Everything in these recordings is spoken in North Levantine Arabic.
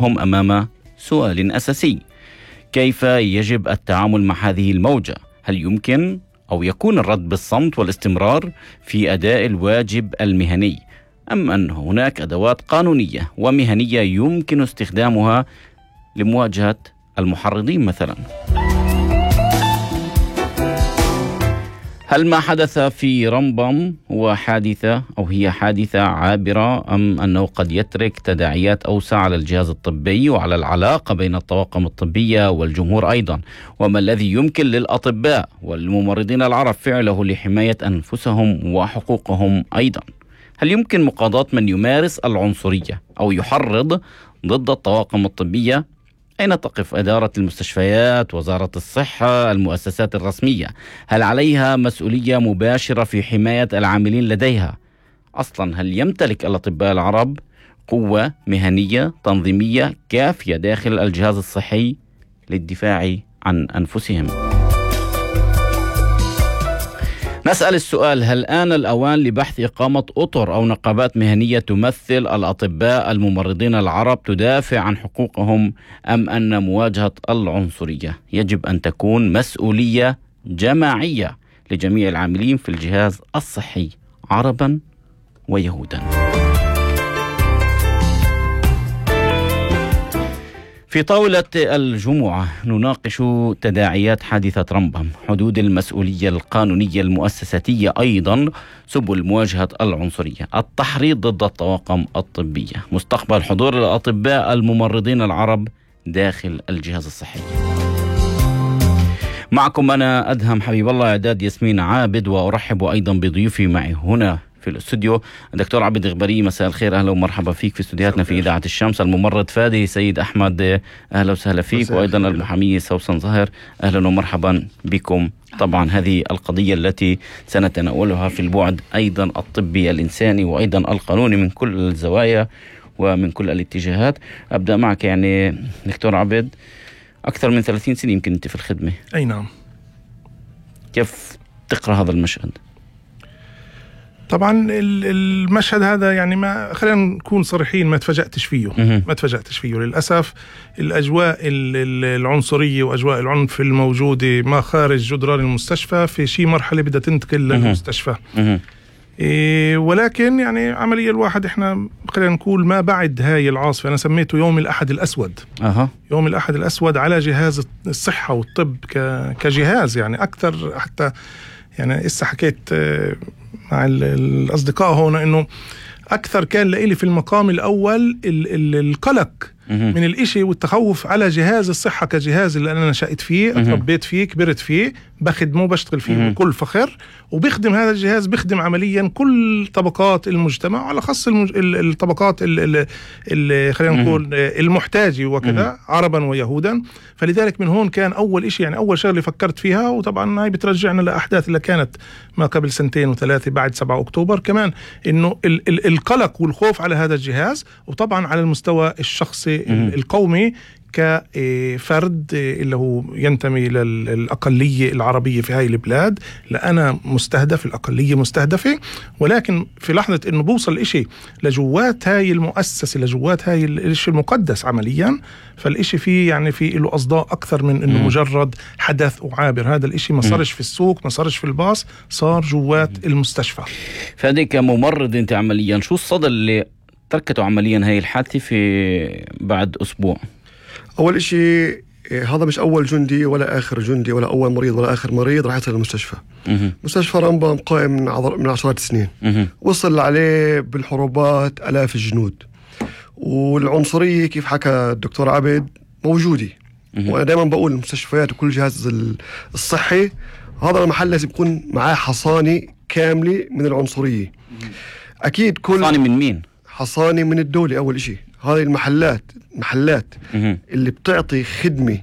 هم أمام سؤال أساسي: كيف يجب التعامل مع هذه الموجة؟ هل يمكن أو يكون الرد بالصمت والاستمرار في أداء الواجب المهني، أم أن هناك أدوات قانونية ومهنية يمكن استخدامها لمواجهة المحرضين مثلا؟ هل ما حدث في رمبم هو حادثة أو هي حادثة عابرة، أم أنه قد يترك تداعيات أوسع على الجهاز الطبي وعلى العلاقة بين الطواقم الطبية والجمهور أيضا؟ وما الذي يمكن للأطباء والممرضين العرب فعله لحماية أنفسهم وحقوقهم أيضا؟ هل يمكن مقاضاة من يمارس العنصرية أو يحرض ضد الطواقم الطبية؟ أين تقف إدارة المستشفيات، وزارة الصحة، المؤسسات الرسمية؟ هل عليها مسؤولية مباشرة في حماية العاملين لديها؟ أصلا هل يمتلك الأطباء العرب قوة مهنية تنظيمية كافية داخل الجهاز الصحي للدفاع عن أنفسهم؟ نسأل السؤال: هل آن الأوان لبحث إقامة أطر أو نقابات مهنية تمثل الأطباء الممرضين العرب تدافع عن حقوقهم، أم أن مواجهة العنصرية يجب أن تكون مسؤولية جماعية لجميع العاملين في الجهاز الصحي عربا ويهودا؟ في طاولة الجمعة نناقش تداعيات حادثة رمبم، حدود المسؤولية القانونية المؤسساتية، أيضا سبل مواجهة العنصرية، التحريض ضد الطواقم الطبية، مستقبل حضور الأطباء الممرضين العرب داخل الجهاز الصحي. معكم أنا أدهم حبيب الله، إعداد ياسمين عابد، وأرحب أيضا بضيوفي معي هنا في الاستوديو الدكتور عبد الغبري. مساء الخير، أهلا ومرحبا فيك في استوديوهاتنا في إذاعة الشمس. الممرض فادي سيد أحمد، أهلا وسهلا فيك. وأيضا المحامية سوسن ظاهر، أهلا ومرحبا بكم. طبعا هذه القضية التي سنتناولها في البعد أيضا الطبي الإنساني وأيضا القانوني من كل الزوايا ومن كل الاتجاهات. أبدأ معك يعني دكتور عبد، أكثر من 30 سنة يمكن أنت في الخدمة. أي نعم. كيف تقرأ هذا المشهد؟ طبعا المشهد هذا يعني ما خلينا نكون صريحين، ما تفاجأتش فيه للأسف. الأجواء العنصرية وأجواء العنف الموجودة ما خارج جدران المستشفى في شيء مرحلة بدها تنتقل للمستشفى. ولكن يعني عمليا الواحد احنا خلينا نقول ما بعد هاي العاصفة، أنا سميته يوم الأحد الأسود. يوم الأحد الأسود على جهاز الصحة والطب كجهاز، يعني أكثر. حتى يعني إسا حكيت مع الأصدقاء هنا إنه أكثر كان لإلي في المقام الأول القلق من الإشي والتخوف على جهاز الصحة كجهاز اللي أنا نشأت فيه، اتربيت فيه، كبرت فيه، بخدمه، بشتغل فيه بكل فخر، وبيخدم هذا الجهاز، بيخدم عمليا كل طبقات المجتمع، على خاص الطبقات اللي خلينا نقول المحتاجة وكذا، عربا ويهودا. فلذلك من هون كان أول إشي، يعني أول شغلة فكرت فيها، وطبعا هاي بترجعنا لأحداث اللي كانت ما قبل 2 و3 بعد 7 أكتوبر كمان، إنه القلق والخوف على هذا الجهاز، وطبعا على المستوى الشخصي القومي كفرد اللي هو ينتمي للأقلية العربية في هاي البلاد، لأنا مستهدف، الأقلية مستهدفة. ولكن في لحظة إنه بوصل إشي لجوات هاي المؤسسة، لجوات هاي الإشي المقدس عمليا، فالإشي فيه يعني فيه له أصداء أكثر من إنه مجرد حدث وعابر. هذا الإشي ما صارش في السوق، ما صارش في الباص، صار جوات المستشفى. فهذه كممرض أنت عمليا شو الصدى اللي تركته عمليا هاي الحادثة في بعد أسبوع؟ أول إشي، هذا مش أول جندي ولا آخر جندي ولا أول مريض ولا آخر مريض راح يصل للمستشفى. مستشفى رمبم قائم من 10 سنين، وصل عليه بالحروبات آلاف الجنود، والعنصرية كيف حكى الدكتور عبد موجودة. وأنا دائما بقول المستشفيات وكل جهاز الصحي هذا المحل لازم يكون معاه حصانة كاملة من العنصرية. أكيد كل حصانة من مين؟ حصانة من الدولة. أول إشي هذه المحلات اللي بتعطي خدمة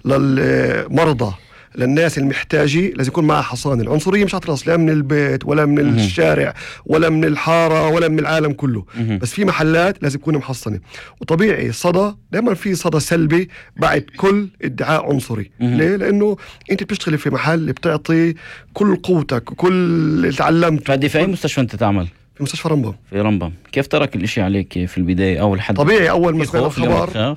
للمرضى، للناس المحتاجة، لازم يكون معها حصانة. العنصرية مش هتخلص لا من البيت ولا من الشارع ولا من الحارة ولا من العالم كله، بس في محلات لازم تكون محصنة. وطبيعي الصدى دائما في صدى سلبي بعد كل ادعاء عنصري. ليه؟ لأنه أنت بتشتغل في محل بتعطي كل قوتك وكل اللي تعلمت. فهذه في أي مستشفى أنت تعمل؟ في مستشفى رمبم. في رمبم. كيف ترك الاشي عليك في البداية؟ أول حد طبيعي أول ما سمعنا الخبر